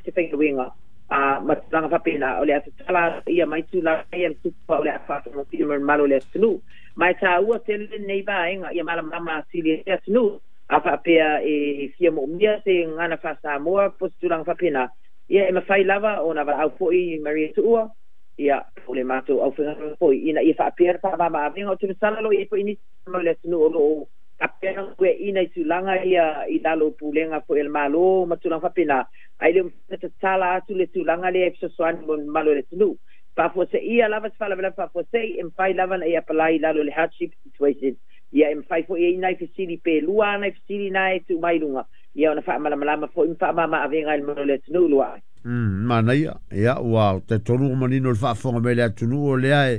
Se faigaluega ma tulaga faapena o le a tatala ia mai tulaga ia le supa o le a faafaigofie mo le mamalu o le atunuu. Ma e taua tele lenei vaega ia malamalama atili ai le atunuu. A faapea e fia moomia se gagana faa-Samoa po o se tulaga faapena, ia e mafai lava ona valaau foi Maria Tuua, ia po o le matou aufaigaluega foi ina ia faapea le faamama-avega. Ou te masalo o lo o i ai foi nisi o le atunuu o lo o faapea ona galueaiina i tulaga ia i lalo o pulega foi a le Malo ma tulaga faapena, ae le o mafai ona tatala atu le tulaga lea e fesoasoani mo le mamalu o le atunuu. Faafuaseia lava se faalavelave faafuasei, e mafai lava ona e apalai i lalo o le hardship situation. Ia e mafai foi e i ai nai fesili pe lua nai fesili na e tuu mai i luga, ia ona faamalamalama foi ma faamama-avega i le mamalu o le atunuu luaai. Manaia. Ia, ua talitonu ua manino le faafofoga mai le atunuu o lea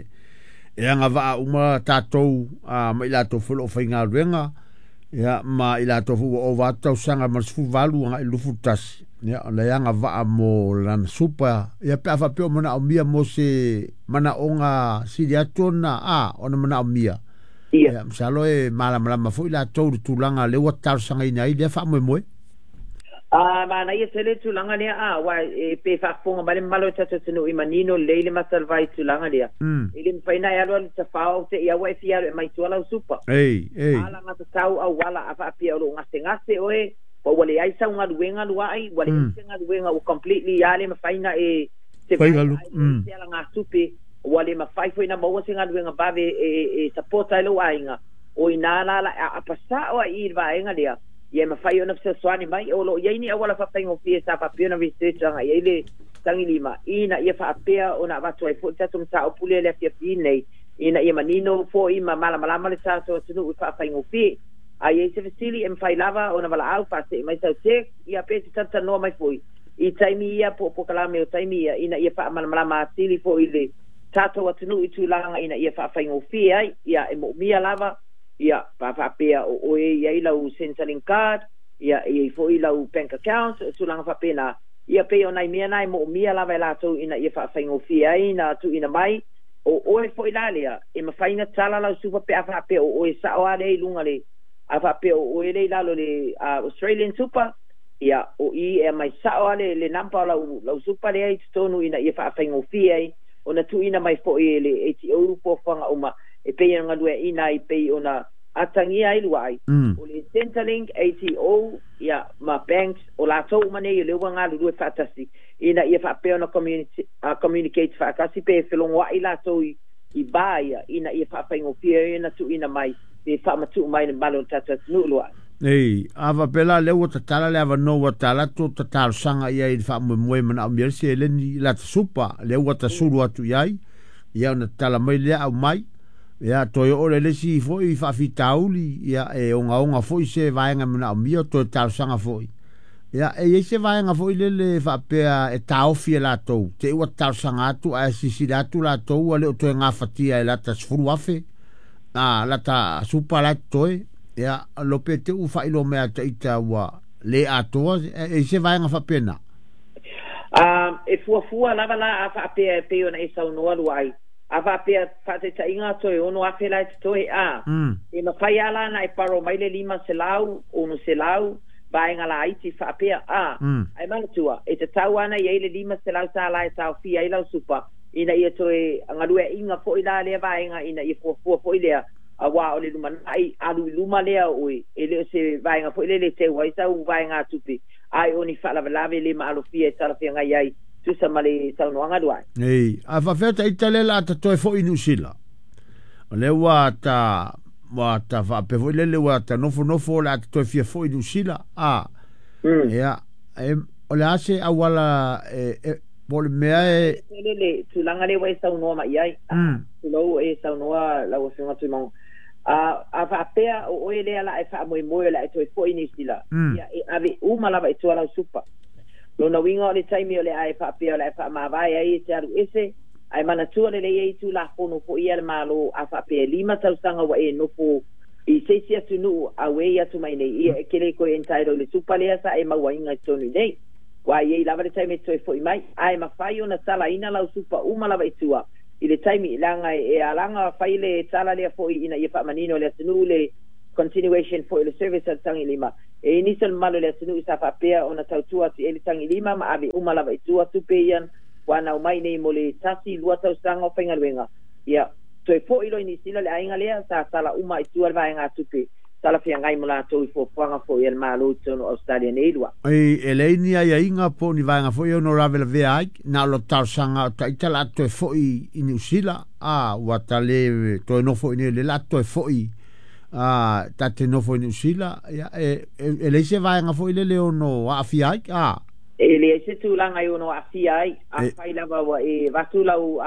e agavaa uma tatou ma i latou foi o lo o faigaluega, ia, ma i latou foi ua ova atu tausaga ma le 18 agai i le 21, ia, o lea e agavaa mo lana supa, ia, pe a faapea o manaomia mo se manaoga sili atu ona, ona manaomia. Ia, masalo e malamalama foi latou i le tulaga lea ua talosagaina ai lea faamoemoe. Manaia tele le tulaga lea, aua e pe faafofoga mai le mamalu o le tatou atunuu i manino lelei le mata o le vai i tulaga lea. E le mafai ona e alu alu tafao te i aua e fia alu e aumai tua lau supa. Ei, ei. Alagatatau auala a faapea o loo gasegase oe, ua leai sau galuega luai, ua leai se galuega ua completely a le mafai na e se Faigalu. Se alagatupe, ua le mafai foi na maua se galuega vave e support ai lou aiga, o ina la la apasao ai i le vaega lea, ia e mafai ona fesoasoani mai. O loo i ai ni auala faafaigofie sa faapea ona research agai ai le tagilima ina ia faapea ona avatu ai foi le tatou mataupu lea le afiafi nei ina ia manino foi ma malamalama le tatou atunuu i faafaigofie. A i ai se fesili, e mafai lava ona valaau faasee mai sau text, ia pe te talatalanoa mai foi i taimi ia po o polokalame o taimi ia ina ia faamalamalama atili foi le tatou atunuu i tulaga ina ia faafaigofie ai. Ia e moomia lava ia pa faapea o oe i ai lau Centrelink card, ia e i ai foi lau bank account, o tulaga faapena. Ia pei o nai mea na e moomia lava e latou ina ia faafaigofie ai na tuuina mai. O oe foi la lea e mafai ona tala lau supa pe a faapea o oe sao lava lea i luga le a faapea o oe lea i lalo le Australian Super, ia o i e aumai sao lava le number o lau supa lea i totonu ina ia faafaigofie ai ona tuuina mai foi e le ATO fuafuaga uma e pei ona galueaiina ai pei ona atagia ai luai. O le Centrelink, ATO, ia ma banks o latou uma nei o lea ua galulue faatasi ina ia faapea ona communicate faatasi pe felogoai latou i va ia ina ia faafaigofie ai ona tuuina mai pe faamatuu mai le mamalu o le tatou atunuu luai. Ei, a faapea la lea ua tatala le avanoa ua tala atu ta talosaga i ai i le faamoemoe manaomia le seleni i lata supa, lea ua tasulu atu i ai, ia ona tatala mai lea aumai, ia toe oo le isi foi faafitauli, ia e ogaoga foi se vaega manaomia toe talosaga foi. Ia, e i ai se vaega foi lele faapea e taofi e latou, te i ua talosaga atu ae silasila atu latou ua le o toe gafatia e lata 10,000, lata supa la e totoe, ia, lo pe te ua faailoa mai ia te ita ua le atoa, e i ai se vaega faapena? E fuafua lava la a faapea e pei ona e saunoa luai. A faapea faataitaiga toe 6,000 la e totoe a. E mafai lava la ona e borrow mai le 500, 600, vaega laiti faapea a. Ae manatua, e tatau lava ona i ai le $500 e taofia ai lau supa ina ia toe galueaiina foi la lea vaega ina ia fuafua foi lea aua o le lumanai alu i luma lea o oe e le o se vaega foi lele e teu ai sau vaegatupe ae o ni faalavelave le maalofia e talafeagai ai tusa ma le saunoaga luai. Ei, a faapea ta ita lea o le a ta toe foi i Niu Sila. O lea ua ta ua ta faapea foi lele ua ta nofonofo o le a ta toe fia foi i Niu Sila. A, ia, e, o le a se auala e, po o le mea e Le tulaga lea ua e saunoa mai ai. Tulou e saunoa lau Afioga Tuimago. A faapea o oe lea la e faamoemoe o le a e toe foi i Niu Sila, ia e ave uma lava i tua lau supa. Lona uiga o le taimi o le a e faapea o le a e faamavae ai e te alu ese, ae manatua lelei ai Tulafono foi ia a le Malo a faapea e 5 tausaga ua e nofo i se isi atunuu auei atu mai nei, ia e te le toe entitle i le supa lea sa e mauaina i totonu i nei. Ua i ai lava le taimi e te toe foi mai, ae mafai ona talaina lau supa uma lava i tua i le taimi, leaga e alaga fai le tala lea foi ina ia faamanino i le atunuu le continuation foi o le service a le tagilima. E i nisi o le mamalu o le atunuu sa faapea ona tautua atu i ai le tagilima ma ave uma lava i tua tupe ia ua anau mai nei mo le tasi lua tausaga o faigaluega. Ia, toe foi loa i Niu Sila le aiga lea, sa tala uma i tua le vaegatupe talafeagai mo latou i fuafuaga foi a le Malo i totonu o Ausetalia nei lua. E leai ni aiaiga po o ni vaega foi e ono lavelavea ai, na o le talosaga o ita la toe foi i Niu Sila, a ua ta le toe nofo i nei le la toe foi a ta te nofo i Niu Sila, ia e leai se vaega foi lele ono aafia ai, a. E leai se tulaga e ono aafia ai, afai lava ua e avatu lau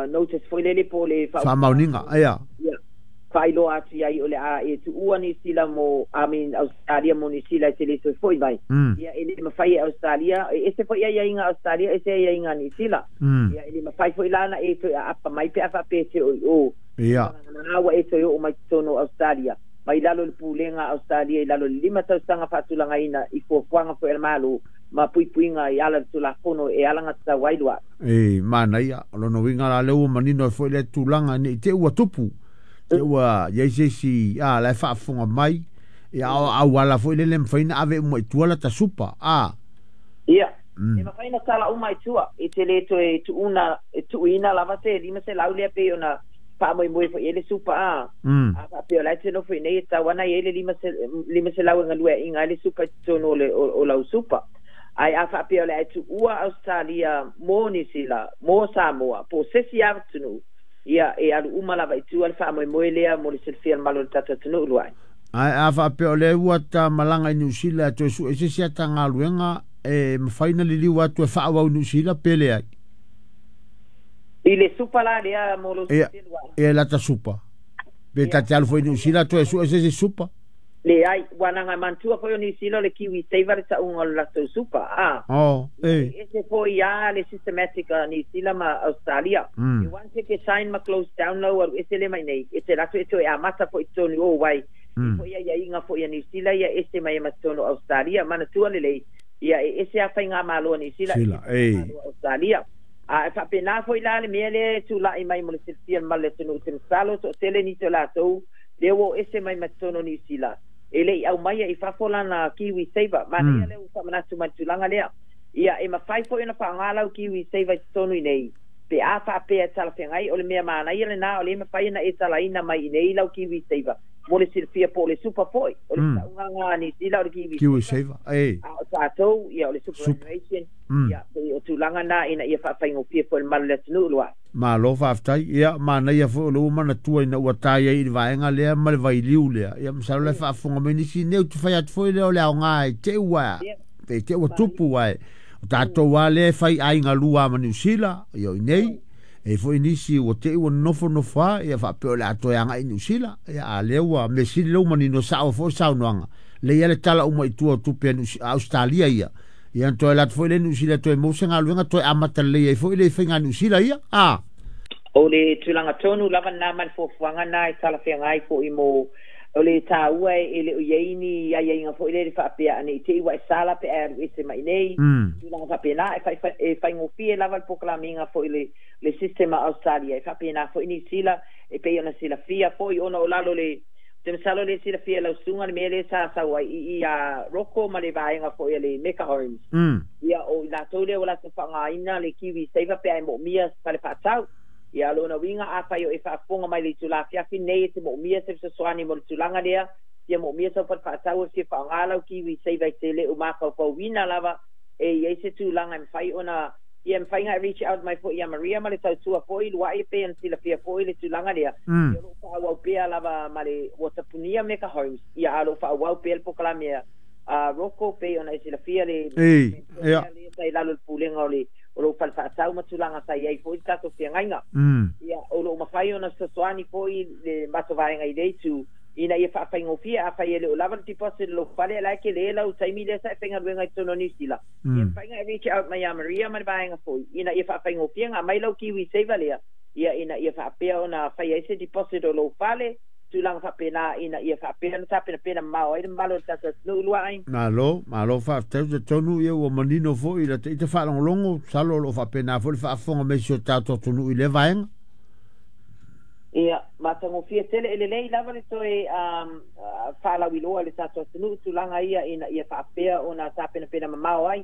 notice foi lele po o le faamaoniga, ia. Ia, faailoa atu i ai o le a e tuua Niu Sila mo, I mean, Australia mo Niu Sila e te le toe foi mai. Ia, e le mafai e Australia, e ese foi aiaiga Australia, ese aiaiga Niu Sila. Ia, e le mafai foi la na e toe aapa mai pe a faapea te o i o. Ia. Na ua e toe oo mai totonu o Australia, mai lalo le pulega Australia i lalo le 5 tausaga faatulagaina i fuafuaga foi a le Malo ma puipuiga i ala le Tulafono e alagatatau ai lua. E manaia, o lona uiga la lea ua manino ai foi le tulaga nei te ua tupu, te ua iai se isi a la e faafofoga mai, ia o auala foi lele mafai ona ave uma i tua lata supa, a. Ia, e mafai ona tala uma i tua, e te le toe tuuna, e tuuina lava se 500 lea pei ona faamoemoe foi i ai le supa, a. A faapea o la e te nofo i nei e tatau ana i ai le 500 e galueaiina ai le supa i totonu o lau supa. Ae a faapea o le a e tuua Australia mo Niu Sila, mo Samoa, po o se isi atunuu, ia e alu uma lava i tua le faamoemoe lea mo le silafia o le mamalu o le tatou atunuu lua ai. Ae a faapea o lea ua ta malaga i Niu Sila e toe sue se isi ata galuega e mafai ona liliu atu e faaauau i Niu Sila pe leai? I le supa la lea mo lou Ia, silafia lua ai. ia lata supa. Pe ta te alu foi i Niu Sila toe sue se isi supa. Leai, ua na manatua foi o Niu Sila o le Kiwi Saver le tauga o le latou supa, a. Oh, Ia, e. e ese foi a le systematic a Niu Sila ma Australia. E once e ke sign ma close down lau alu ese le mai nei, e te latou e toe amata foi i totonu o wai. E foi aiaiga foi a Niu Sila ia ese mai e ma totonu o Australia. Manatua lelei, ia e ese a faigamalo a Niu Sila, ese Sila, e. faigamalo a Australia. A e faapena foi la le mea lea e tulai mai mo le silafia o le mamalu o le atunuu i te masalo toatele nisi o latou lea ua o ese mai ma totonu o Niu Sila, e le i aumaia i fafo lana Kiwi Saver. Manaia lea ua faamanatu mai le tulaga lea. Ia, e mafai foi ona faaaoga lau Kiwi Saver i totonu i nei, pe a faapea e talafeagai, o le mea manaia lena o lea e mafai ona e talaina mai i nei lau Kiwi Saver mo le silafia po o le supa foi. O le tauga lena a Niu Sila o le Kiwi Kiwi Saver. Saver, e. A o tatou, ia, o le superannuation, ia, pei o tulaga na ina ia faafaigofie foi le mamalu o le atunuu lua. Malo faafetai. Ia, manaia foi o le ua manatua ina ua ta ai i le vaega lea ma le vailiu lea. Ia, masalo la e faafofoga mai nisi nei ou te fai atu foi lea o le aoga e te ua, e te ua tupu ai. O tatou lava lea e fai aiga lua ma Niu Sila, ia o i nei, e foi nisi ua te ua nofonofo lava, ia faapea o le a toe agai i Niu Sila. Ia, a lea ua mea sili lea ua manino sao foi le saunoaga. Lea ia le tala uma i tua o tupe a Australia ia. Ia na toe alu atu foi lea i Niu Sila toe maua se galuega toe amata lelei ai foi le faiga Niu Sila ia. A. O le tulaga tonu lava lena ma le fuafuaga lena e talafeagai foi mo o le taua e le o i ai ni aiaiga foi lele faapea ane i te i ua e sala pe a e alu ese mai i nei. Tulaga faapena e faigofie lava le polokalamiga foi le system a Australia e faapena foi Niu Sila e pei ona silafia foi ona o lalo le te masalo le silafia e lau susuga le mea lea sa sau ai i i a Roko ma le vaega foi a le Meka Homes. Ia o i latou lea ua latou faaaogaina le Kiwi Saver pe a e moomia fale faatau. Ia lona uiga afai o e faafofoga mai le itula afiafi nei e te moomia se fesoasoani mo le tulaga lea, fia moomia sau fale faatau e fia faaaoga lau Kiwi Saver i te le o mafaufauina lava e i ai se tulaga e mafai ona ia mafai ona e reach out mai foi ia Maria ma le tautua foi luai e pei ona silafia foi le tulaga lea. Ia o loo faaauau pea lava ma le ua tapunia Meka Homes, ia a o loo faaauau pea le polokalame a Roko pei ona e silafia le Ia. lea sa i lalo o le pulega o le o lou fale faatau ma tulaga sa i ai foi le tatou feagaiga. Ia o loo mafai ona fesoasoani foi le matou vaega i le itu ina ia faafaigofie afai e le o lava le deposit o lou fale la e tele lau taimi lea sa e faigaluega i totonu o Niu Sila. Ia mafai ona e reach out mai ia Maria ma le vaega foi ina ia faafaigofie ona aumai lau Kiwi Saver lea, ia ina ia faapea ona fai ai se deposit o lou fale, tulaga faapena ina ia faapea ona tapenapena mamao ai le mamalu o le tatou atunuu lua ai. Malo, malo faafetai. Ou te talitonu ia ua manino foi i la ita faalogologo, masalo o lo o faapena foi le faafofoga mai si o tatou atunuu i lea vaega. Ia, Matagofie tele e lelei lava le toe faalauiloa le tatou atunuu tulaga ia ina ia faapea ona tapenapena mamao ai.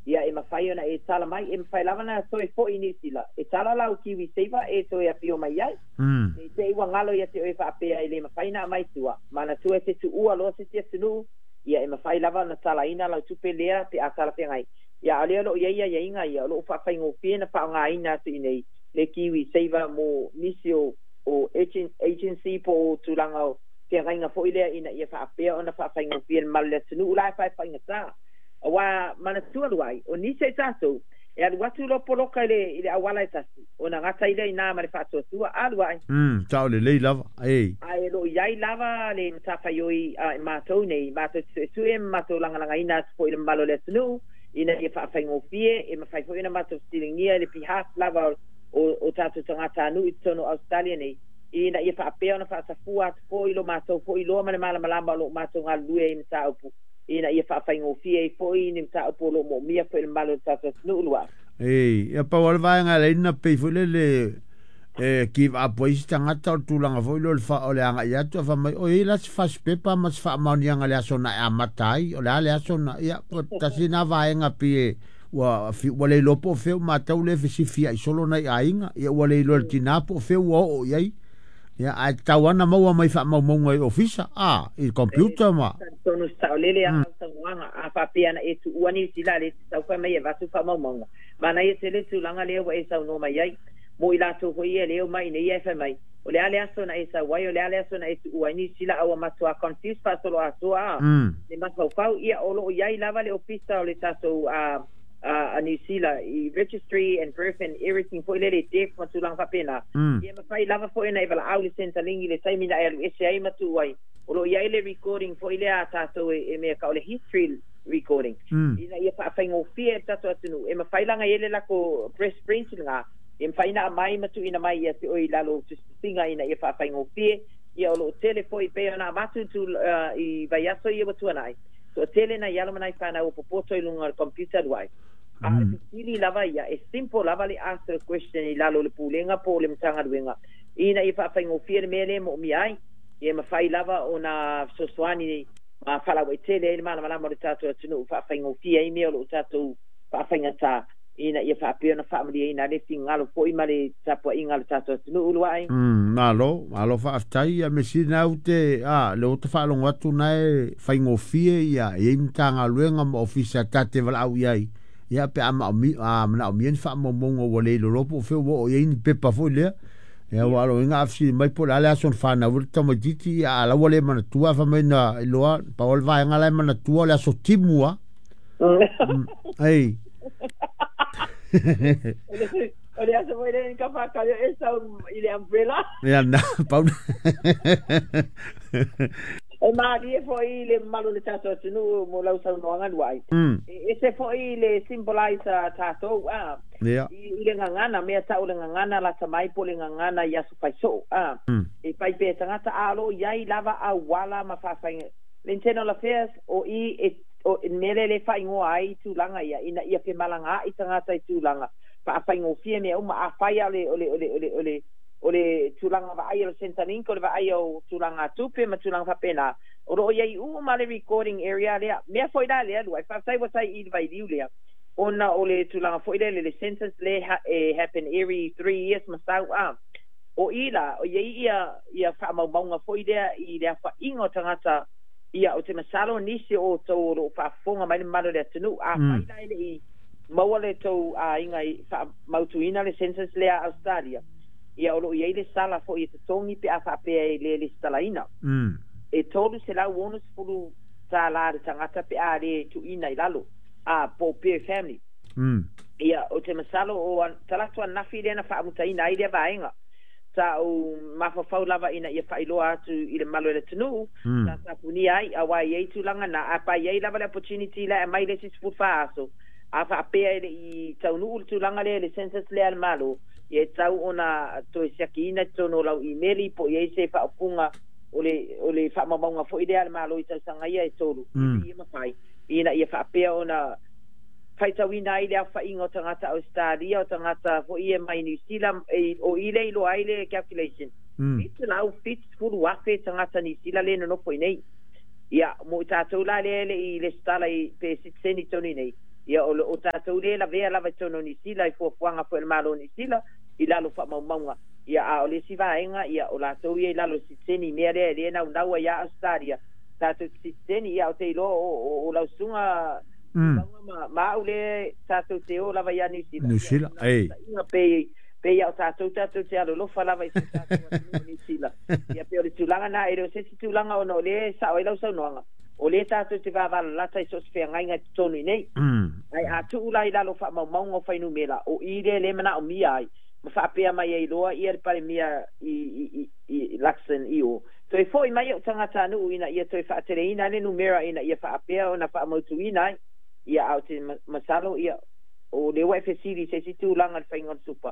Ia e mafai ona e tala mai, e mafai lava na toe fo'i i Niu Sila, e tala lau Kiwi Saver e toe afio mai ai. Ne i te i ua galo ia te oe faapea e le mafai na aumai tua, manatua e te tuua loa se isi atunuu, ia e mafai lava ona talaina lau tupe lea pe a talafeagai. Ia a o lea o lo o i ai aiaiga ia, o lo o faafaigofie na faaaogaina atu i inei le Kiwi Saver mo nisi o agency po o tulaga o feagaiga foi lea ina ia faapea ona faafaigofie le mamalu o le atunuu la e faefaigata. Aua manatua luai, o nisi o i tatou, e alu atu loa poloka i le auala e tasi, ona gata ai lea i ina ma le faatuatua, a luai. Sao lelei lava, e. Ae o lo o i ai lava le matafaioi a i matou nei, matou te suesue ma matou lagalagaina atu foi i le mamalu o le atunuu, ina ia faafaigofie, e mafai foi ona matou fesiligia i le behalf lava o tatou tagatanuu i totonu o Ausetalia nei, ina ia faapea ona faasafua atu foi lo matou foi iloa ma le malamalama o lo o matou galulue ai i mataupu, ina ia faafaigofie ai foi ni mataupu o lo o moomia foi e le mamalu o le tatou atunuu lua. E, ia pau lava le vaega e ala ai ona pei foi lele e give up ai isi tagata o le tulaga foi lea o le agai atu ae fai mai, oi e i ai la se fasipepa ma se faamaoniaga i le aso na e amata ai, o le a le aso na, ia, tasi lena vaega pei e ua ua le iloa po o fea ua matau lea e fesifiai solo nai aiga, ia ua le iloa e le tina po o fea ua oo i ai. Ia, ae tatau lava ona maua mai faamaumauga i ofisa, a, i computer ma. Talitonu saolele lava lau saunoaga, a faapea na e tuua Niu Sila lea e te tau fai mai e avatu faamaumauga. Manaia tele le tulaga lea ua e saunoa mai ai. Mo i latou foi ia e le omai i inei ae fai mai, o le a le aso na e sau ai, o le a le aso na e tuua ai Niu Sila, a ua matua confuse faasoloatoa a le mafaufau. Ia, o lo o i ai lava le ofisa o le tatou a Niu Sila i registry and birth and everything foi lele, death ma tulaga faapena. Ia mafai lava foi ona e valaau i le Centrelink i le taimi na e alu ese ai ma tuu ai. O lo o i ai le recording foi lea a tatou e mea tau o le history recording ina ia faafaigofie ai le tatou atunuu. E mafai la ona i ai le lako breast print lena, e mafai ona aumai ma tuuina mai ia te oe i lalo o tusitusiga ina ia faafaigofie. Ia o lo o tele foi pei ona avatu i vaiaso ia ua tuanai, toatele nai alo ma nai fanau o popoto i luga o le computer luai. A o le fesili lava ia, e simple lava le ask the question i lalo o le Pulega po o le Matagaluega ina ia faafaigofie le mea lea e moomia ai. Ia mafai lava ona fesoasoani ma faalauaitele ai le malamalama o le tatou atunuu, faafaigofie ai mea o lo o tatou faafaigata ina ia faapea ona faamalieina ai le finagalo foi ma le tapuaiga a le tatou atunuu luai. Malo, malo faafetai ia Mesina au te a le ota faalogo atu na e faigofie ia e i ai Matagaluega ma Ofisa ta te valaau i ai ia pe a manaomia ni faamaumauga ua le iloiloa po o fea ua oo i ai ni pepa foi lea. Ia ua aloina a fesili mai po o le a le aso na fanau ai le tamaitiiti ia a la ua le manatua fai mai na iloa pau o le vaega la e manatua o le aso timu a. Ei. O le aso foi lea ka whakari e sau i le umbrella. Ia na, pau. E mālie foi le mamalu o le tatou atunuu mo lau saunoaga luai. E ese foi le symbolize a tatou a. I le gagana, mea tau o le gagana lata mai po o le gagana i aso faisoo a. E fai pea e tagata a o lo o i ai lava auala ma faafaiga. Le Internal Affairs o i e O le mea lea e faaigoa ai tulaga ia, ina ia femalagaai tagata i tulaga faafaigofie mea uma. Afai lava o le, o le, o le, o le, o le tulaga vaaia o le Centrelink, o le vaaia o tulaga tupe ma tulaga faapena, o lo o i ai uma le recording area lea. Mea foi la lea lua, e faafetai ua tai i le vailiu lea, ona o le tulaga foi lea le census lea e happen every 3 years ma sau a. O i la, o i ai ia faamaumauga foi lea i le aofaiga o tagata. Ia, ou te masalo nisi o outou o lo o faafofoga mai le mamalu o le atunuu, afai la e le i maua le tou aiga i faamautuina le census lea a Ausetalia, ia o lo o i ai le sala foi e totogi pe a faapea e le lesitalaina. E $360 le tagata pe a le tuuina i lalo, a po o per family. Ia, ou te masalo o talaatu ananafi lea na faamutaina ai lea vaega. Sa ou mafaufau lava ina ia faailoa atu i le mamalu o le atunuu, sa tapunia ai, aua e i ai tulaga na, a pa i ai lava le opportunity la e aumai le isi 14 aso, a faapea e le i taunuu le tulaga lea i le census lea a le Malo, ia e tatau ona toe siakiina i totonu o lau imeli po o i ai se faaupuga o le faamaumauga foi lea a le Malo i tausaga ia e tolu, e ia mafai, ina ia faapea ona faitauina ai le aofaiga o tagata Ausetalia, o tagata foi ia mai Niu Sila, o i le iloa ai le calculation. 770,000 tagata Nisila le nonofo i nei. Ia, mo i tātou la lea le i lesitala i pe sitiseni i totonu i nei. Ia, o tātou lea e lavea lava i totonu o Nisila i fuafuaga foi a le Malo o Nisila i lalo o faamaumauga. Ia, a o le isi vaega, ia, o latou ia i lalo o sitiseni i mea lea e le naunau ai ia Ausetalia tatou te sitiseni. Ia, ou te iloa o lau susuga Tuilaga ma au lea tatou te o lava ia Niu Sila. Niu Sila, ei. Pei pei a o tatou tatou te alolofa lava i si o tatou atunuu o Niu Sila. Ia pei o le tulaga na, e le o se isi tulaga ona o lea e sao ai lau saunoaga, o lea tatou te vavalalata i so o se feagaiga i totonu i nei. Ae a tuu la i lalo o faamaumauga o fuainumera, o i lea lea e manaomia ai, ma faapea mai ai loa ia le Palemia i Luxon i o, toe foi mai ou tagatanuu ina ia toe faateleina ai le numera ina ia faapea ona faamautuina ai. Ia, a o te masalo, ia, o lea ua e fesili i se isi tulaga i le faiga o le supa.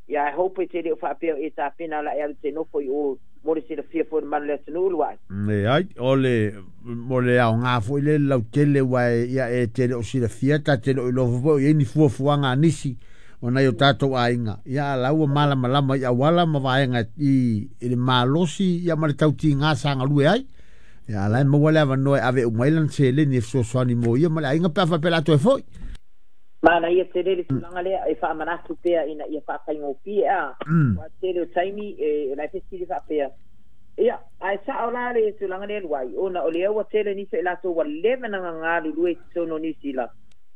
Ia, ae hope te le o faapea o e tapena la e alu te nofo i o mo le silafia foi o le malu o le atunuu lua'i. Leai, o le, mo le aoga foi lea i le lautele aua e, ia, e te le o silafia, ta te le o iloa foi po o i ai ni fuafuaga a nisi o nai o tatou aiga, ia a la ua malamalama i auala ma vaega i, i le malosi ia ma le tautiga sa galue ai. Ia a la e maua le avanoa e ave uma ai lana seleni e fesoasoani mo ia ma le aiga pe a faapea o le a toe foi. Manaia tele le tulaga lea e faamanatu pea ina ia faafaigofie a. Aua tele o taimi e la e fesili faapea, ia, ae sao la le tulaga lea Luai, ona o lea ua tele nisi o i latou ua leva ona galulue i totonu o Niu Sila.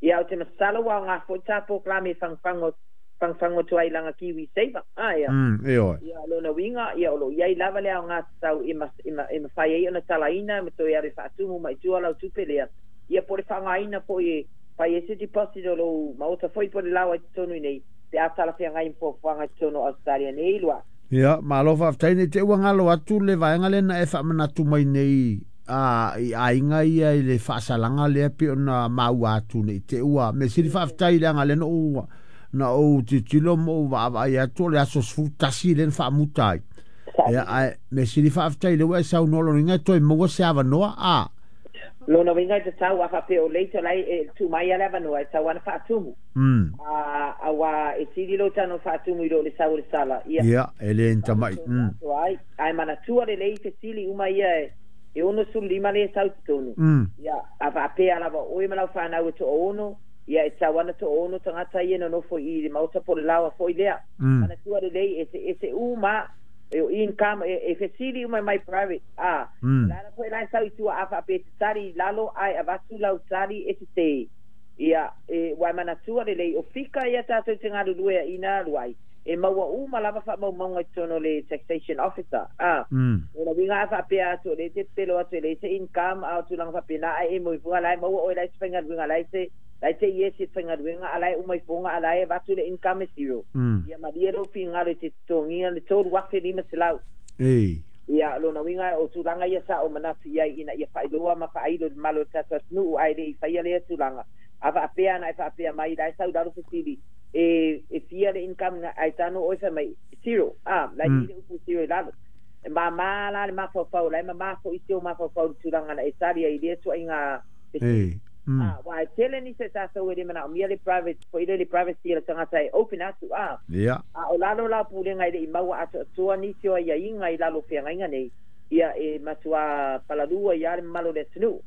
Ia, ou te masalo ua aoga foi ta polokalame e fagufagu fagufagu atu ai i lana Kiwi Saver. A, ia. Ioe. Ia, o lona uiga, ia, o lo o i ai lava le aoga tatau e e mafai ai ona talaina ma toe alu e faatumu mai i tua lau tupe lea. Ia, po o le faaaogaina foi e fai ai se deposit o lou maota foi po o le laoa i totonu i nei, pe a talafeagai ma fuafuaga i totonu o Ausetalia nei, Lua. Ia, malo faafetai. Ne i te i ua galo atu le vaega lea na e faamanatu mai nei a, i aiga ia i le faasalaga lea pei ona maua atu ne i te i ua mea sili faafetai leaga lea na ou na ou tilotilo ma ou vaavaai atu o le aso 11 lea na faamuta ai. Ia, ae mea sili faafetai lea ua e saunoa lona uiga e toe maua se avanoa a. Lona uiga e tatau a faapea o late la e tuu mai lava le avanoa e tatau lava ona faatumu. A, aua e sili lou tano faatumu i lo le sau o le sala. Ia. Ia, e le ni tamai. Ai, ae manatua lelei fesili uma ia e 65 lea e sau i totonu. Ia, a faapea lava o oe ma lau fanau e toaono, ia e tatau lava ona toaono tagata ia e nonofo i le maota po o le laoa foi lea. Manatua lelei, eseese uma e o income, e fesili uma mai private, a, o le ala foi la e sau i tua a faapea e te tali i lalo ae avatu lau tali e sese. Ia, e, ua e manatua lelei, o fika ia tatou te galulue ai ina alu ai, e maua uma lava faamaumauga i totonu o le Taxation Officer, a. O lona uiga a faapea atu o lea e te pepelo atu e leai se income a o tulaga faapena ae e moe fuga la e maua oe la e se faigaluega la e se la e te iesi e te faigaluega a la e uma ifoga a la e avatu le income e zero. Ia malie lou finagalo e te totogiina le $3,500. Ei. Ia, o lona uiga o tulaga ia sa ou manatu i ai ina ia faailoa ma faailo i le mamalu o le tatou atunuu ae le i faia lea tulaga. A faapea ana e faapea mai la e sau i lalo fesili e fia le income na ae tano oe fai mai zero. A, la e i ai le upu zero i lalo. E mama la le mafaufau, la e mama foi si ou mafaufau i le tulaga na e tali ai i lea tuaiga fesili. A, aua e tele nisi o tatou e le manaomia le private foi lele privacy a le tagata e open atu, a. A o lalo la o pulega e le i maua atoatoa nisi o aiaiga i lalo o feagaiga nei, ia e matuā palalū ai lava le mamalu o le atunuu.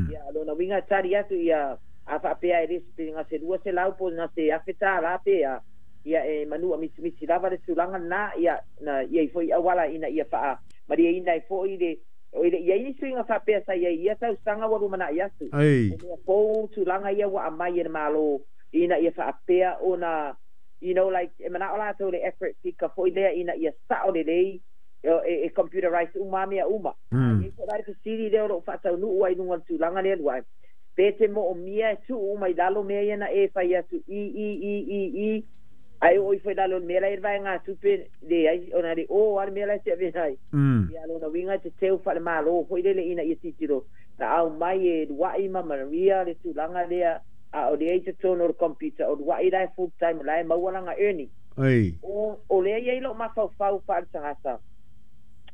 Ia, o lona uiga e tali atu ia, a faapea e le pe na se $200 po o na se $1,000 pe a, ia e manua misimisi lava le tulaga lena, ia na i ai foi auala ina ia faamalieina ai foi le O e le i i ai ni suiga faapea sa i ai i ia tausaga ua lumanai atu. O mea fou tulaga ia ua aumai e le Malo ina ia faapea ona, you know like, e manao latou i le accurate figure foi lea ina ia sao lelei, e computerize uma lava mea uma. A i ai foi la le fesili lea o lo o faataunuu ai i luga o le tulaga lea Luai, pe te moomia e tuu uma i lalo mea ia na e fai atu i i i i i, ae oo ifo i lalo o le mea la e i ai le vaegatupe, leai, ona le o lava le mea la e te avea ai. Ia, lona uiga e te teu faale-Malo foi lele ina ia tilotilo na aumai e Luai ma Maria le tulaga lea, a o lea i totonu o le computer, o Luai la e full time, la e maua lana earning. O lea e i ai lou mafaufau faale-tagata,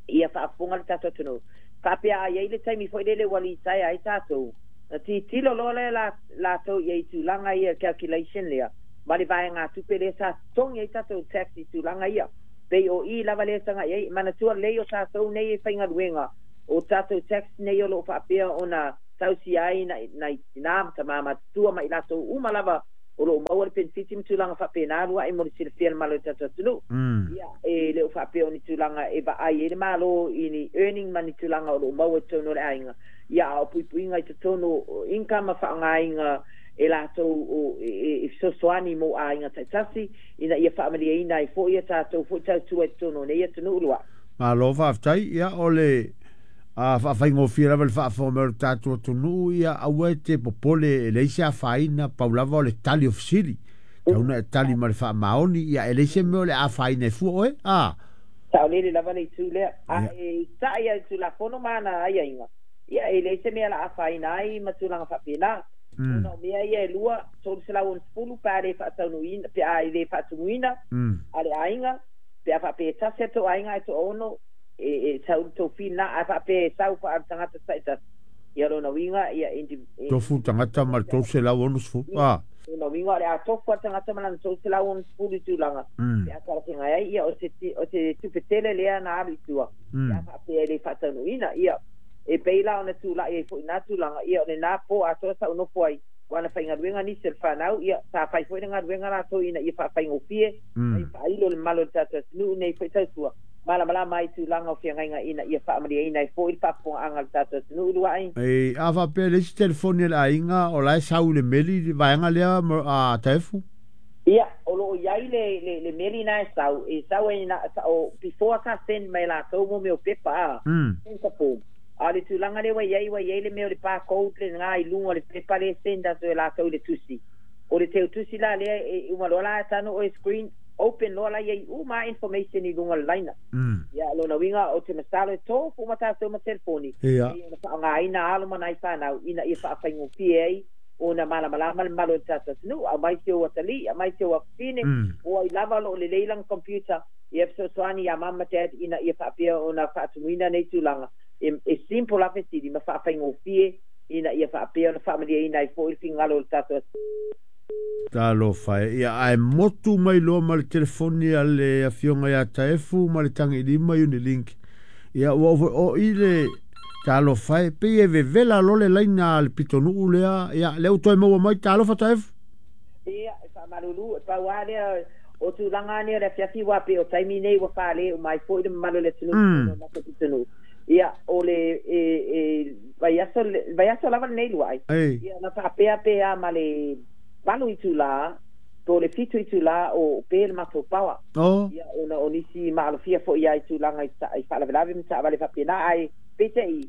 ia faafofoga le tatou atunuu, faapea a i ai le taimi foi lele ua litaea ai tatou, na tilotilo loa lea latou i ai i tulaga ia, calculation lea, ma le vaegatupe lea sa totogi ai tatou tax i tulaga ia. Pei o i lava lea taga i ai, manatua lelei o tatou nei e faigaluega, o tatou tax nei o loo faapea ona tausia ai nai tina ma tama matutua ma i latou uma lava o loo maua le penefiti ma tulaga faapena lua'i mo le silafia le malo o le tatou atunuu. Ia e le o faapea o ni tulaga e vaai ai le Malo i ni earning ma ni tulaga o loo maua i totonu o le aiga, ia a o puipuiga i totonu o income ma faaaogaina e latou o e fesoasoani mo aiga taitasi ina ia faamalieina ai foi a tatou foi tautua i totonu o nei atunuu lua'i. Malo faafetai. Ia o le faafaigofie lava le faafofoga mai o le tatou atunuu, ia aua e te popole e leai se afaina, pau lava o le tali o fesili. Tau na e tali ma le faamaoni, ia e leai se mea o le afaina e fua oe, a? Saolele lava le itu lea. A e ta'i ai le Tulafono ma ana aiaiga, ia e leai se mea la afaina ai ma tulaga faapena. Ona o mea ia e lua, 360 pe a le faataunuuina, pe a le faatumuina a le aiga, pe a faapea e tasi a tou aiga ae toaono, e sau le tou fee lena, ae faapea e sau faale-tagata taitasi, ia lona uiga, ia Tofu tagata ma le 360, a? Lona uiga o le a tofu a le tagata ma lana 360 i tulaga, pe a talafeagai ai, ia o se tupe tele lea na alu i tua, pe a faapea e le faataunuuina, ia e pei la ona tulai ai foi na tulaga, ia o lena po atoa sa ou nofo ai, ua na faigaluega nisi o le fanau, ia sa fai foi le galuega latou ina ia faafaigofie, ma ia faailo le mamalu o le tatou atunuu nei foi tautua, malamalama ai tulaga o feagaiga ina ia faamalieina ai foi le faafofogaaga a le tatou atunuu lua'i. Ei, a faapea le isi telefoni a le aiga o la e sau i le meli le vaega lea a Taefu? Ia, o loo i ai le meli na e sau, e sau ai na, o, before sa send mai latou mo mea o pepa a, send sa form. A o le tulaga lea ua i ai, ua i ai le mea o le barcode lena i luga o le pepa lea e send atu e latou i le tusi. O le teutusi la lea e uma loa la tanu oe screen, open loa la i ai uma information i luga o le laina. Ia, lona uiga o te masalo e tofu uma tatou ma telefoni, e ona faaaogaina alo ma nai fanau ina ia faafaigofie ai ona malamalama le mamalu o le tatou atunuu. Aumai si ou atalii, aumai si ou afafine, o ai lava o loo lelei lana computer, ia fesoasoani ia mama ma dad ina ia faapea ona faatumuina nei tulaga. E simple lava fesili ma faafaigofie ina ia faapea ona faamalieina ai foi le finagalo o le tatou atunuu. Talofa e, ia ae motu mai loa ma le telefoni a le afioga ia Taefu ma le tagilima Unilink. Ia ua ou o i le talofa e, pei e vevela loa le laina a le pitonuu lea, ia lea ua toe maua mai, talofa Taefu. Ia, e faamalulu, e pau lava lea o tulaga nei o le afiafi aua pei o taimi nei ua fale uma ai foi le mamalu o le atunuu i totonu o le matou pitonuu. Ia, o le e vaiaso lava lenei lua'i, ia na faapea pe a ma le 8 itula po o le 7 itula o pe le matou power. Ia, ona o nisi maalofia foi ia i tulaga i faalavelave ma taavale faapena, ae peitai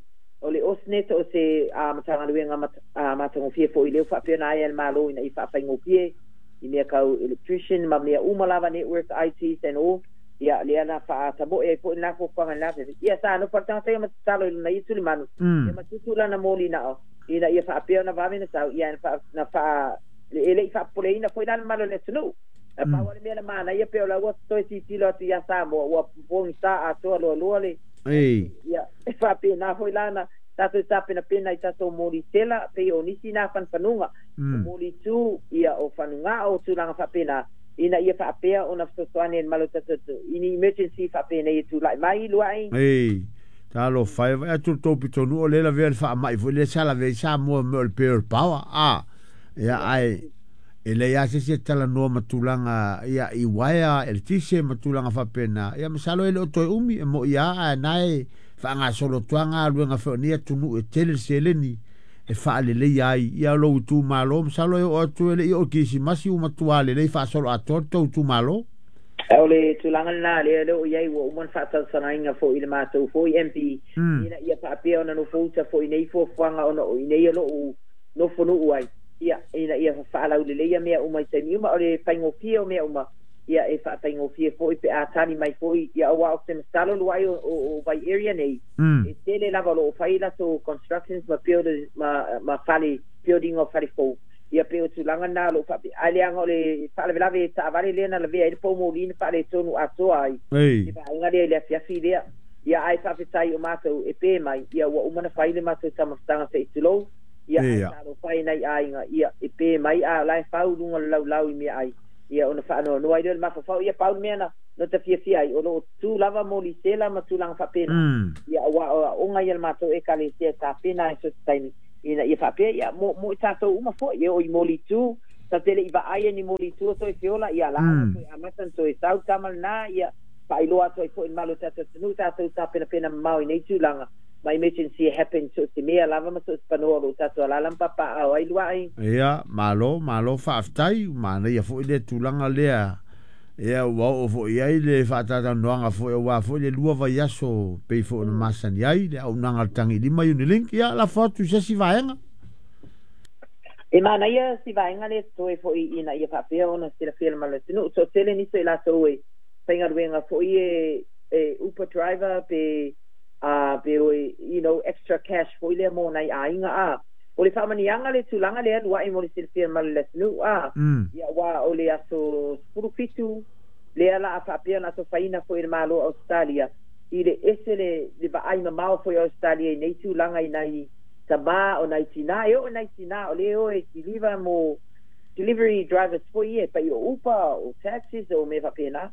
o le AusNet o se Matagaluega matagofie foi lea ua faapea ona aea e le Malo ina ia faafaigofie i mea tau electrician ma mea uma lava, network, ITs and all. Ia lea na faatamoe ai foi lena fuafuaga i lena taimi. Ia sa nofo le tagata ia ma tatalo i lona ia tulimanu, ia ma tutu lana moli nao ina ia faapea ona vave ona sau, ia na faa e le i faapopoleina foi la le mamalu o le atunuu. Na pau lava le mea na manaia pei o la ua toe tilotilo atu ia Samoa ua pogisa atoa loaloa le ia e faapena foi la na tatou tapenapena i tatou moli tela pei o nisi na fanufanuga, o moli tu, ia o fanugao, o tulaga faapena ina ia faapea ona fesoasoani ai le mamalu o le tatou atunuu i ni emergency faapenei e tulai mai lua'i. Ei, talofa e, vaai atu le tou pitonuu o lea e lavea le faamai foi lea sa lavea ai Samoa mea o le Pearl Power, a, ia ae e leai lava se isi e talanoa ma tulaga ia i uaea eletise ma tulaga faapena, ia masalo e le o toe umi e mo'i lava ae na e faagasolo atu lava galuega foi o nei atunuu e tele le seleni e faaleleia ai ia lou itumalo, masalo e oo atu e le i oo i le Kerisimasi ua matua lelei faasoloatoa le tou itumalo. O le tulaga lena lea o lea ua i ai, ua uma ona faatausasaina foi i le matou foi MP ina ia faapea ona nofouta foi i nei fuafuaga ona o i inei o lou nofonuu ai, ia, ina ia faalauleleia mea uma i taimi uma. O le faigofie o mea uma, ia, e faafaigofie foi pe a tali mai foi, ia, aua ou te masalo lua'i o vai area nei, e tele lava o lo o fai latou constructions ma build ma fale, building o fale fou, ia pei o tulaga na o lo o faapea. Ae leaga o le faalavelave taavale lea na lavea ai le poumoli na faaletonu atoa ai le vaega lea i le afiafi lea. Ia, ae faafetai o matou e pe mai, ia, ua uma ona fai le matou taumafataga se i tulou, ia, ae talofa e nai aiga, ia, e pe mai a o la e fau luga o le laulau i meaai, ia, ona faanoanoa ai lea o le mafaufau. Ia, pau le mea na na tafiafia ai o loo tu lava mo lisela ma tulaga faapena. Ia ua aoga ia le matou ekalesia e tapena ai so se taimi ina ia faapea ia mo i tatou uma foi e o i molitu ta tele i vaai e ni molitu o toe feola ia la toe amata na toe sau tama lena ia faailoa atu ai foi i le malo o tatou atunuu tatou tapenapena mamao i nei tulaga ma emergency e happen so se mea lava ma so se panoa o loo tatou alala ma papaao ai luai. Ia, malo, malo faafetai, manaia foi le tulaga lea. Ia ua oo foi i ai le faatalatalanoaga foi aua foi le 2 vaiaso pei foi ona masani ai le auaunaga a le Tagilima Unilink. Ia lafo atu i se isi vaega. E manaia si vaega lea totoe foi ina ia faapea ona silafia le malo atunuu. Toatele nisi o i latou e faigaluega foi e Uber driver pe pe o you know extra cash foi lea mo nai aiga a. O le faamaniaga le tulaga lea luai mo le silafia le malo atunuu a. Ia ua o le aso 17 lea la a faapea ona atofaina foi e le Malo o Ausetalia i le ese le vaai mamao foi o Ausetalia i nei tulaga i nai tamā o nai tinā e oo i nai tinā o le o e kiliva mo delivery drivers foi ia e pai o Uber o taxis o mea faapena.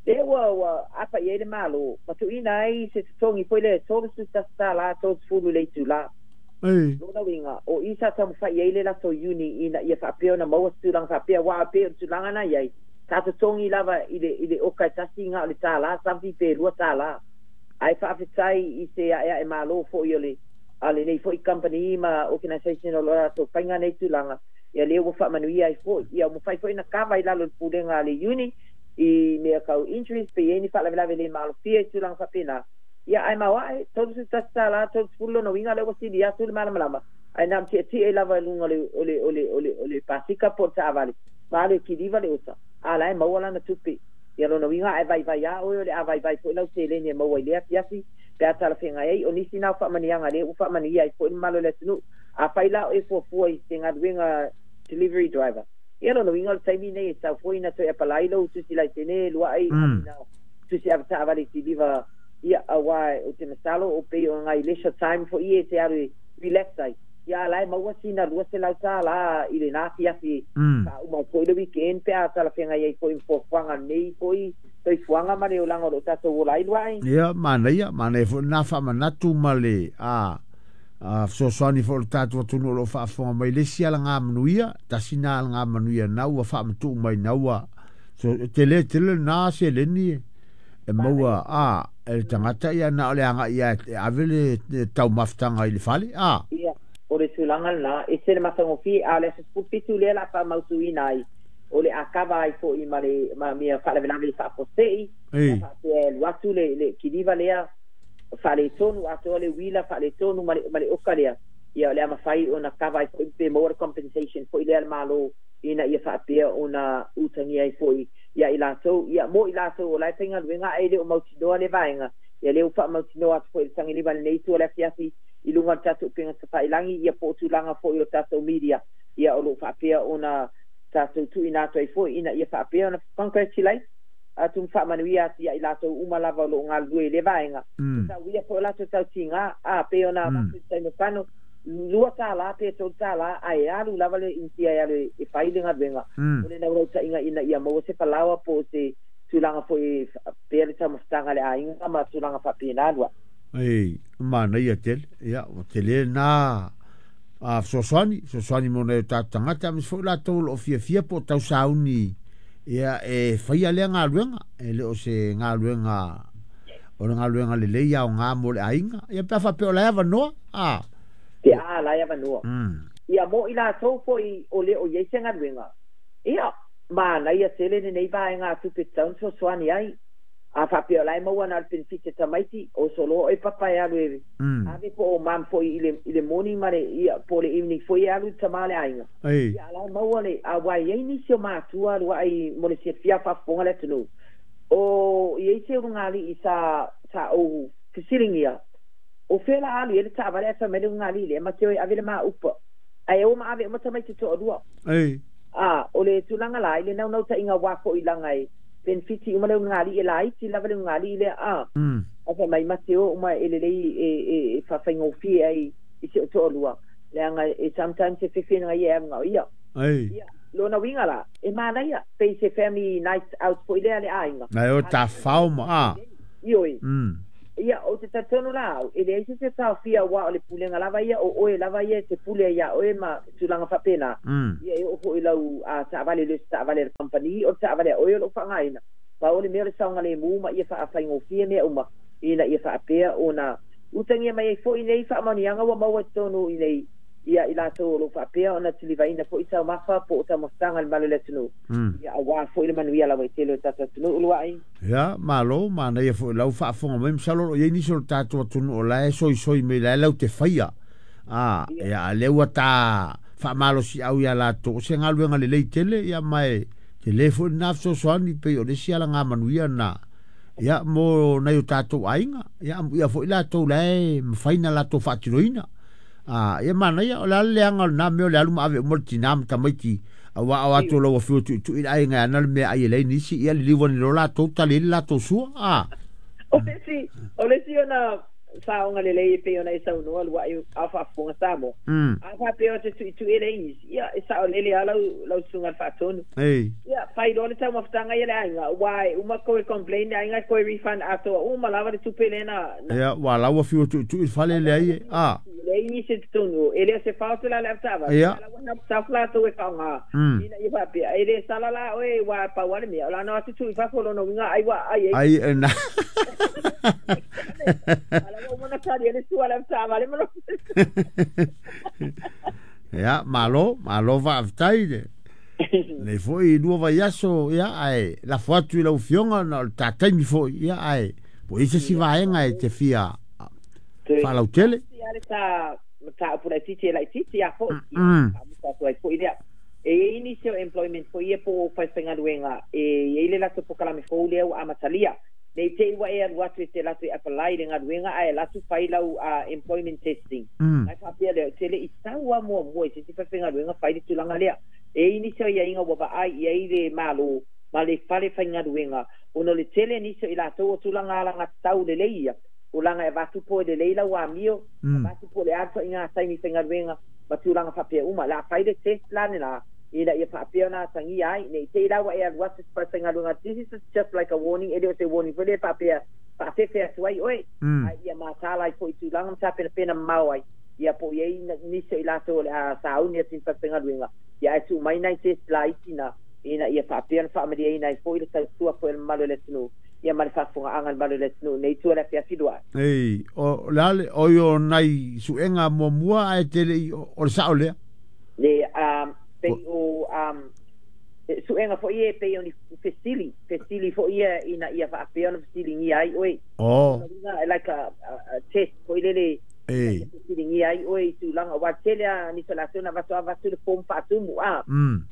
Lea ua apa i ai le Malo ma tuuina ai se totogi foi lea e $31 30 le itulā. Lona uiga, o i sa taumafai ai le latou uni ina ia faapea ona maua se tulaga faapea, aua pei o le tulaga na i ai, sa totogi lava i le oka e tasi na o le $1 something pe $2. Ae faafetai i se aeae malo foi o le a lenei foi company ma organisation o lo o latou faiga nei tulaga, ia lea ua faamanuia ai foi. Ia ua mafai foi ona kava i lalo o le pulega a le uni i mea tau injuries pe i ai ni faalavelave le maalofia i tulaga faapena. Ia ae maoae, $31 30 lona uiga lea ua sili atu le malamalama, ae na o le tietie lava i luga o le pasika po o le taavale, ma alu e kiliva le osa, a la e maua lana tupe. Ia lona uiga a e vaivai lava oe o le a vaivai foi lau seleni e maua i lea afiafi pe a talafeagai ai. O nisi na o faamanuiaga lea ua faamanuia ai foi le mamalu o le atunuu. Afai la o e fuafua i se galuega delivery driver, ia lona uiga o le taimi nei e tatau foi ona toe apalai lou tusi laisene luai na tusi avetaavale kiliva ia aua o te masalo o pei o ngai leisure time foi ia e te alu e relax ai. Ia a la e maua sina $200 i lena afiafi faauma ai foi le weekend pe a talafeagai ai foi ma fuafuaga nei foi soifuaga ma le olaga o loo tatou ola ai luai. Ia manaia, manaia foi lena faamanatu ma le fesoasoani foi o le tatou atunuu o lo o faafofoga mai le isi alagamanuia, tasi na alagamanuia na ua faamatuu mai na ua so, tele tele lena seleni e maua e le tagata ia na o le agai ia e ave le taumafataga i le fale a. Ia o le tulaga lena e se le matagofie a o le aso 17 lea la faamautuina ai o le a kava ai foi ma le ma mea faalavelave faafuasei faapea e alu atu le kiliva lea faaletonu atoa le uila faaletonu ma le oka lea. Ia o le a mafai ona kava ai foi pe maua le compensation foi lea a le Malo ina ia faapea ona utagia ai foi ia i latou ia mo i latou o la e faigaluega ae le o mautinoa le vaega. Ia lea ua faamautinoa atu foi i le tagiliva i lenei itu o le afiafi i luga o le tatou upega tafailagi ia po o tulaga foi o tatou media ia o loo faapea ona tatou tuuina atu ai foi ina ia faapea ona congratulate atu ma faamanuia atu ia i latou uma lava o loo galulue i le vaega. Tauia foi o latou tautiga a pei ona avatu i le taimi o fano $2 pe $3 ae alu lava le Initia e alu e fai le galuega. O le naulautaiga ina ia maua se falaoa po o se tulaga foi pea le taumafataga a le aiga ma tulaga faapena lua. Ei, manaia tele. Ia, ua tele na fesoasoani mo nai o tatou tagata, aemaise foi latou o lo o fiafia po o tausauni ia e faia lea galuega. E le o se galuega, o le galuega lelei aoga mo le aiga. Ia pe a faapea o la e avanoa, a. Pe a la e avanoa. Ia mo i latou foi o le o i ai se galuega. Ia, manaia tele lenei vaega tupe tatau ona fesoasoani ai. A faapea o la e maua na o le benefit tamaiti, o soloa oe papa e alu e ave po o mum foi i le morning ma le ia po o le evening foi e alu i le tama o le aiga. Ia a la e maua le aua e i ai nisi o matua luai mo le silafia faafofoga le atunuu. O i ai se ulugalii sa ou fesiligia o fea la alu i ai le taavale ae fai mai le ulugalii lea ma te o e ave le maupa. Ae o ma ave uma tamaiti toalua. A o le tulaga la i le naunautaiga aua foi laga e benefiti uma le ulugalii e laiti lava le ulugalii lea a. Ae fai mai ma te o uma e lelei e faafaigofie ai i si o toalua leaga e sometimes e fefe ia e alu na o ia. Ia Lona uiga la, e manaia, pei se family night out fo'i lea a le aiga. Na e o tafafao ma a. Ioe. Ia, ou te talitonu la au, e leai se isi e taofia aua o le pulega lava ia, o oe lava ia e te pule ai iā oe ma tulaga faapena. Ia e oo foi i lau taavale, e le o se taavale a le kamupani, o le taavale a oe o lo o faaaogaina. Pau o le mea o le saogalemu ma ia faafaigofie mea uma ina ia faapea ona utagia mai ai foi nei faamaoniaga ua maua i totonu i nei ia i latou o lo o faapea ona tilivaina foi taumafa po o taumafataga i le malu o le atunuu, ia aua foi le manuia lauaitele o le tatou atunuu. Uluai. Ia, malo, manaia foi lau faafofoga mai, masalo o lo o i ai nisi o le tatou atunuu o la e soisoi mai la e lau te faia. A, ia, a lea ua ta faamalosiau iā latou, o se galuega lelei tele, ia ma e tele foi lena fesoasoani, pei o le isi alagamanuia lena, ia, mo nai o tatou aiga, ia, amuia foi latou la e mafai ona latou faatinoina. A, ia manaia, o le a le leaga o lena mea o le alu ma ave uma le tinā ma tamaiti, auā o atu o lau afio tuitui le aiga e ana le meaai e leai nisi, ia liliu ane loa latou tali ai le latou sua, a. O le isi ona saoga lelei e pei ona e saunoa lua'i a o faafofoga Samoa. A faapea o te tuitui e le isi, ia e saolele lava lau susuga i le faatonu. Ia, fai loa le taumafataga ia le aiga, aua e uma toe complain le aiga e toe refund atoa uma lava le tupe lea na. Ia, ua lau afio tuitui i le fale leai e, a. Leai nisi i totonu, e le o se fault la le avetaavale, a la ua help staff latou e faaaoga, ina ia faapea, e le sala la oe, aua e pau lava le mea, o le a na o atu tuu i fafo, o lona uiga ai ua ai ai. Ai, na. A la ua uma ona tali ai le sua a le avetaavale ma lona. Ia, malo, malo faafetai le. Nei foi lua vaiaso, ia, ae lafo atu i lau Afioga ona o le ta taimi foi, ia, ae po i ai se isi vaega e te fia faalautele. Ia le ta mataupu laitiiti e laitiiti a foi, ia, faamuta atu ai foi lea. E i ai nisi o employment foi ia po o faifaigaluega e i ai le latou polokalame fou lea ua amatalia. Ne i te i ua e alu atu e te alu atu e apply le galuega ae alu atu fai lau employment testing. Ae faapea lea, ou te le i sau lava muamua i se isi faifaigaluega fai le tulaga lea. E i ai nisi o aiaiga ua vaai i ai le Malo ma le fale faigaluega ona o le tele nisi o i latou o tulaga alagatatau lelei ia, o laga e avatu po e lelei lau amio, avatu po o le a le ituaiga taimi faigaluega ma tulaga faapea uma. O le a fai le test la lena ina ia faapea ona atagia ai, ne i te i la ua e alu atu i se falefaigaluega, this is just like a warning, e le o se warning foi lea e faapea faafefe atu ai oe, ae ia mataala ai foi i tulaga ma tapenapena mamao ai, ia po o i ai nisi o i latou o le a sauni atu i ni falefaigaluega, ia ae tuu mai nai test laiti na, ina ia faapea ona faamalieina ai foi le tautua foi a le mamalu o le atunuu, ia ma le faafofogaaga a le mamalu o le atunuu i lenei itu o le afiafi lua. Ei, o le a le, oi o nai suega muamua ae te le i, o le sao lea? Le, pei o suega foi ia e pei o ni fesili, fesili foi ia ina ia faapea ona fesiligia ai oe. Oh. Like a test foi lele. Ei. Fesiligia ai oe i tulaga, aua tele lava nisi o latou na avatu, avatu le form faatumu, a.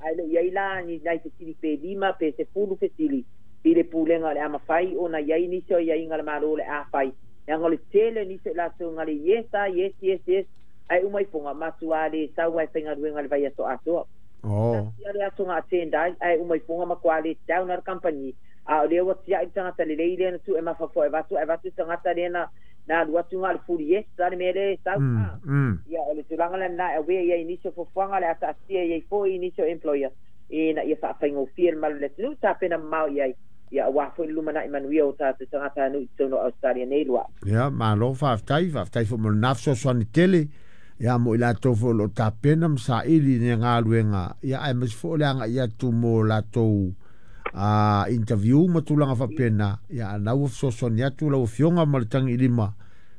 Ae le o i ai la ni nai fesili pe 5 pe 10 fesili i le pulega o le a mafai ona i ai nisi o aiaiga a le Malo o le a fai. Leaga o le tele o nisi o i latou na le yes a, yes, yes, yes, ae uma ifoga, matua le sau lava e faigaluega i le vaiaso atoa. Tasi lava le aso na attend ai, ae uma ifoga matua let down lava le kamupani. A o lea ua tiai le tagata lelei lea na tuu e mafaufau e avatu, ae avatu le tagata lea na na alu atu na o le fully yes a le mea lea e sau. A, ia o le tulaga la lena e aware i ai i nisi o fuafuaga o le a taatia i ai foi i nisi o employer ina ia faafaigofie le malu o le atunuu, tapena mamao i ai, ia aua foi le lumanai manuia o tatou tagatanuu i totonu o Ausetalia nei lua. Ia, malo faafetai, faafetai foi mo lena fesoasoani tele, ia mo i latou foi o lo o tapena ma saili i lenei galuega, ia aemaise foi o le agai atu mo latou interview ma tulaga faapena, ia a na ua fesoasoani atu lau Afioga ma le Tagiilima,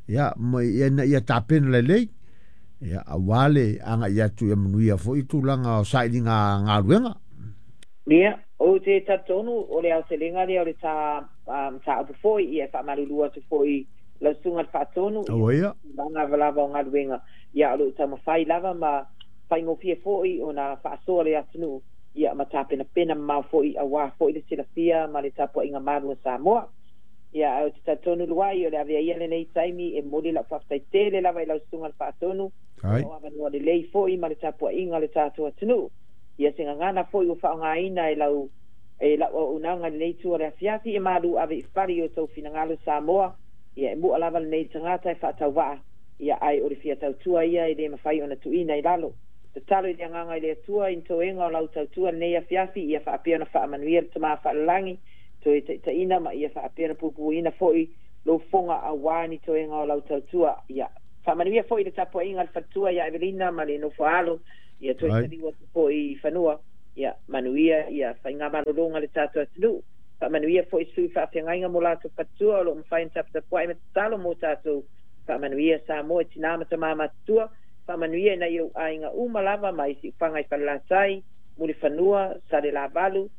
ia ma ina ia tapena lelei, ia aua le agai atu ia manuia foi tulaga o sailiga galuega. Ia, ou te talitonu o le aotelega lea o le ta mataupu foi, ia e faamalulu atu foi lau Susuga i le Faatonu, ia tulaga lava o galuega, ia o lo o taumafai lava ma faigofie foi ona faasoa le atunuu, ia ma tapenapena mamao foi aua foi le silafia ma le tapuaiga malu a Samoa. Ia, ae ou te talitonu luai o le avea ia lenei taimi e momoli lau faafetai tele lava i lau Susuga i le Faatonu, o avanoa lelei foi ma le tapuaiga a le tatou atunuu. Ia se gagana foi ua faaaogaina e lau e lau auaunaga i lenei itu o le afiafi e malu ave i fale i o outou finagalo Samoa, ia e mua lava lenei tagata e faatauvaa, ia ae o le fia tautua ia e le mafai ona tuuina i lalo. Tatalo i le agaga i le Atua i ni toega o lau tautua lenei afiafi, ia faapea ona faamanuia le Tama Faalelagi, toe taitaiina ma ia faapea ona puipuiina foi lou fofoga aua ni toega o lau tautua. Ia faamanuia foi le tapuaiga a le faletua ia Evelina ma le nofo alo, ia toe taliu atu foi i fanua. Ia manuia ia faigamalologa a le tatou atunuu. Faamanuia foi sui faafeagaiga mo latou faletua o lo o mafai ona taputapuai ma tatalo mo tatou. Faamanuia Samoa i tinā ma tamā matutua. Faamanuia i nai ou aiga uma lava mai Siufaga i Falelatai, Mulifanua, Salelavalu,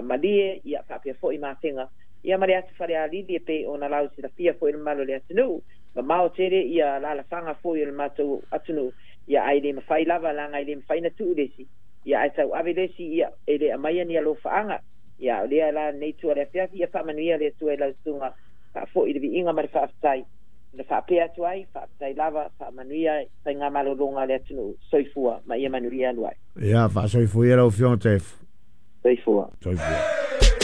Malie, ia faapea foi Mafega, ia ma le atu Falealili e pei ona lausilafia foi le mamalu o le atunuu. Mamao tele ia alalafaga foi o le matou atunuu, ia ae le mafai lava leaga e le mafai ona tuu le isi, ia ae tauave le isi, ia e le aumaia ni alofaaga. Ia o lea la lenei itu o le afiafi, ia faamanuia le Atua i lau susuga, faafoi le viiga ma le faafetai. Na faapea atu ai, faafetai lava, faamanuia faigamalologa a le atunuu. Soifua ma ia manuia alu ai. Ia, faasoifua ia lau Afioga Taefu. Soifua. Soifua.